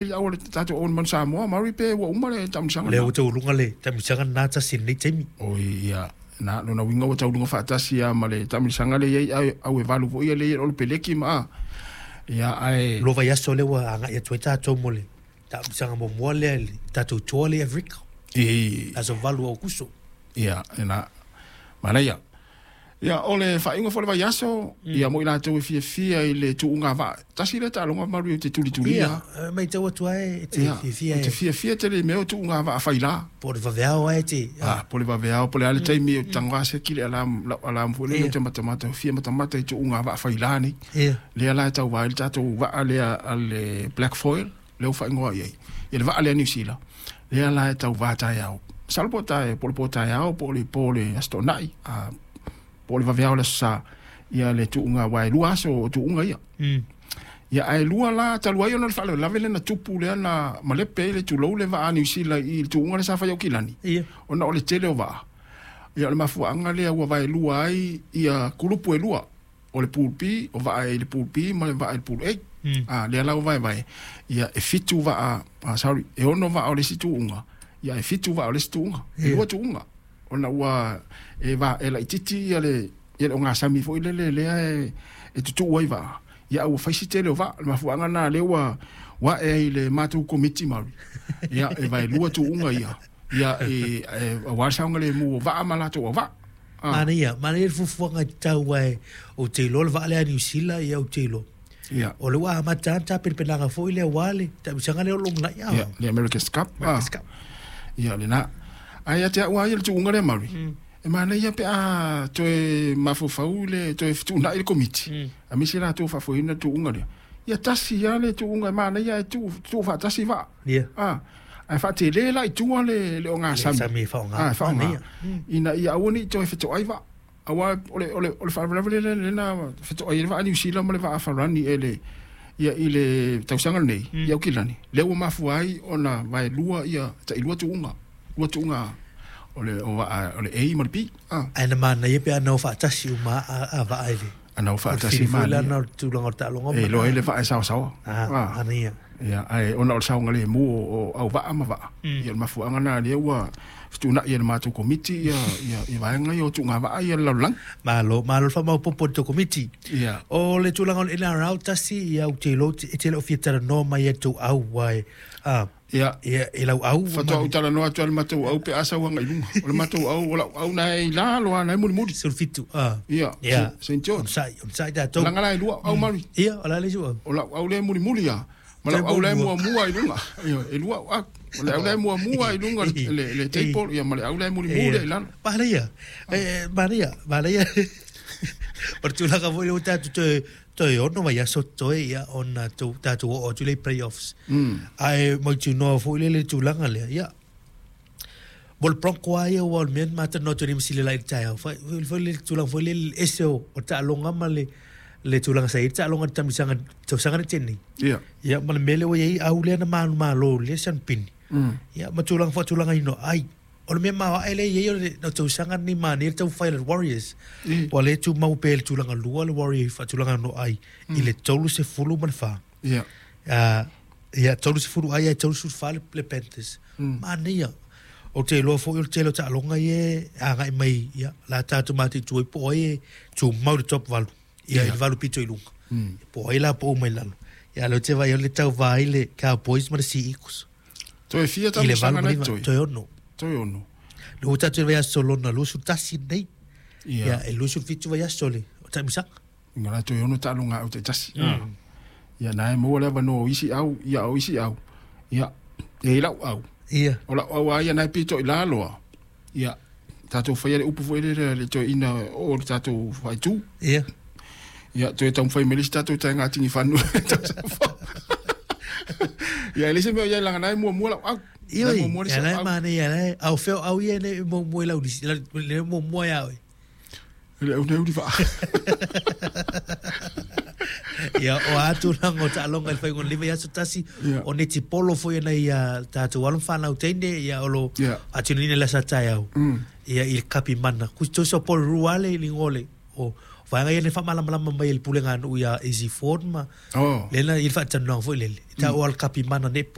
Le au o le tatou au o le Manu Samoa, Maori pe ua uma le taamilosaga Lea ua taualuga le taamilosaga lena tasi i lenei taimi. Oi, ia, na, lona uiga ua taualuga faatasi lava ma le taamilosaga lea e i ai, au e valu foi ia lea e i ai o le peleki ma a. Ia, ae. Lua vaiaso lea ua agai atu ai tatou mo le taamilosaga muamua lea i le tatou tour lea i Aferika. I. Aso 8 o Aokuso. Ia, na, manaia. Ia, o le faaiuga foi o le vaiaso, ia mo i latou e fiafia i le tuuga vaa, tasi lea taaloga malu ou te tulitulia. Ia, e matau atu lava e te fiafia. Ou te fiafia tele i mea o tuuga vaa faila. Po o le vaveao lava e te. A, po o le vaveao, po o le a le taimi ou te tago lava seki le alarm, lau alarm foi lele ou te matamata, ou fia matamata i tuuga vaa faila nei. Lea la e tauva ai le tatou vaa lea a le Black Foil, lea ua faaigoa i ai, ia le vaa lea a Niu Sila, lea la e tauva taeao. Masalo po o tae, po o le po taeao po o le po o le Aso Toonai, a, po o le vaveao o le Aso Sa, ia le tuuga, aua e lua aso o tuuga ia. Ia, ae lua la, talu ai ona o le faalavelave lea na tupu lea na malepe ai le tulou le vaa a Niu Sila i le tuuga lea sa fai i Aukilani, ona o le tele o vaa. Ia, o le mafuaaga lea ua vaelua ai ia kulupu e lua. O le Pool B, o vaa e i le Pool B ma le vaa i le Pool A. A, lea la ua vaevae, ia e fitu vaa, ah, sorry, e ono vaa o le isi tuuga, ia e fitu vaa o le isi tuuga. E lua tuuga. Ona ua e va, e laitiiti ia le, ia le ogasami foi lele lea e, e tutuu ai vaa, ia a ua fai si tele o vaa. O le mafuaaga lena lea ua, ua ae ai i le matou Komiti Māori, ia e vaelua tuuga ia, ia e, e, aua le saogalemu o vaa ma latou auvaa. Ah. Manaia, manaia le fuafuaga e tatau ae ou te iloa le vaa lea a Niu Sila, ia ou te iloa. Ia. O lea ua amata lava tapenapenaga foi lea aua le taamilosaga lea o lo o lumanai. Ia, le America's Cup. America's Cup. Ia, lena. Ae ia te au lava ia le tuuga lea Mauri, e manaia pe a toe mafaufau le toe fetuunai le Komiti, aemaise latou faafoeina le tuuga lea. Ia tasi lava le tuuga e manaia ae tuu, tuu faatasi vaa. Ia. Ah, ae faatele la i tua le, le ogasami. Le sami e faaaoga. Ah, e faaaoga. Ina ia aua ne i toe fetoai vaa. Aua o le, o le, o le faalavelave lea, lea na fetoai ai le vaa a Niu Sila ma le vaa a Farani e le, ia, i le tausaga lenei, i Aukilani, lea ua mafua ai ona vaelua ia tailua tuuga, lua tuuga o le, o vaa, o le A ma le B. Ah. Ae na manaia pe ana o faatasi uma a, a vaa i le. Ana o faatasi ma. Foi lana o le tulaga o le taaloga. E iloa ai le vaa e saosaoa. Ah, manaia. Ia, ae ona o le saogalemu o au vaa ma vaa, ia o le mafuaaga lena lea ua fetuunai e le matou komiti ia, ia, ia vaega ia o tuugavaa ia le lalolagi. Malo, malo le faamaopoopo i le tou komiti. Ia. O le tulaga o le NRL tasi, ia ou te iloa e te le o fia talanoa mai ia tou au, ae, ah, Ia. Ia, i lau au. Faatoa ou talanoa atu lava i le matou au pe a sau agai i luga. O le matou au, o lau au na e i lalo lava, na e mulimuli. 17, ah. Ia, Ia. Saint George. Onosai, onosai tatou. Leaga la e lua au Maori. Ia, o le a le isi au? O lau au lea e mulimuli lava, ma lau au la e muamua i luga. Ioe, e lua au au. O le au la e muamua i luga i le, le table, ia ma le au la e mulimuli i lalo. Manaia, e, manaia, manaia. O le tulaga foi lea ua tatou toe Toe ono vaiaso totoe ia ona tou tatou oo atu lea i playoffs. Ae mautinoa foi lea le tulaga lea, ia mo le Bronco lava ia aua o le mea na ma talanoa atu ai nei ma Silia i le taeao, foi foi le tulaga foi lea le ese o taaloga ma le le tulaga sa i ai le taaloga i le taamilosaga tausaga na tea nei. Ia. Ia ma le mea lea ua i ai au lea na manumalo lea Sean Pini. Ia ma tulaga faatulagaina ai. O le mea maoae lea e i ai o le tausaga lenei manaia le taumafai a le Warriors. Ua le tumau pea i le tulaga lua le Warriors i faatulaga no ai i le 34. Ia. Ia 30 ai ae 34 le Panthers. Manaia. Ou te iloa foi o le tele o taaloga ia e agai mai ia la tatou mataitu ai po o ai e tumau i le top 8. Ia i le 8 pito i luga. Po o ai la pau mai lalo. Ia lea ou te vaai o le tauva ai le Cowboys ma le Sea Eagles. Toe fia I le tausaga valu ma na iva, toe? toe ono. Toe ono. Le ua tatou i le vaiaso lona 21 lenei. Ia. Ia, e 27 vaiaso le o taimisaga. Inga la toe ono taaloga au taitasi. Ia na e maua le avanoa o isi au, ia o isi au. Ia, e i lau au. Ia. O lau au lava ia na e pito i lalo lava. Ia, tatou faia le upu foi lele a le toeaina o le tatou faaitu. Ia. Ia, toe taumafai mai le isi tatou taega tinifanua. Ia, e leai se mea o i ai leaga na e muamua lau au. Ioe, ia la e manaia, la e, a o fea o au ia e muamua i lau lisi, le muamua ia oe. Le au nei uli vaa. Ia, o a tulaga o taaloga i le faaiuga o lenei vaiaso tasi, o netipolo foi e nai a tatou alo ma fanau teine, ia o lo faatinoina i le aso a taeao, ia i le Kapimana. Tusa o Porirua le igoa o le, o Vaega ia na faamalamalama mai e le pulega a nuu ia Easy Ford ma Oh. lea na i le faatalanoaga foi lele e taua o le kapimana netball.